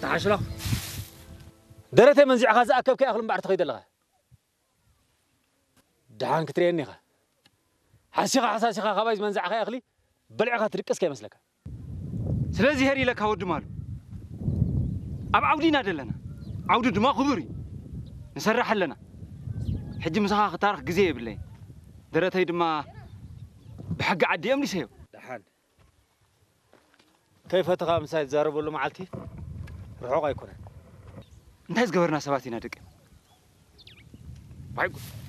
ተሓሽሎ። ደረተይ መንዚዕኻ ዝኣከብካዮ እኽሊ እምበኣር ትኸይድ ኣለኻ። ደሓን ክትርእየኒ ኢኻ። ሓሲኻ ሓሳሲኻ ካባይ ዝመንዛዕካዮ እኽሊ በሊዕኻ ትድቅስ ከይመስለካ። ስለዚ ሄር ኢለካ ወዲ ማሉ፣ ኣብ ዓውዲ ኢና ዘለና። ዓውዲ ድማ ክቡር እዩ። ንሰርሕ ኣለና። ሕጂ ምሳኻ ክታረኽ ግዜ የብለይን። ደረተይ ድማ ብሕጊ ዓዲ እዮም ሊሰዮ። ደሓን። ከይፈተኻ ምሳይ ትዛረበሉ መዓልቲ ርሑቕ ኣይኮነን። እንታይ ዝገበርና ሰባት ኢና ደቂ? ዋይ ጉድ።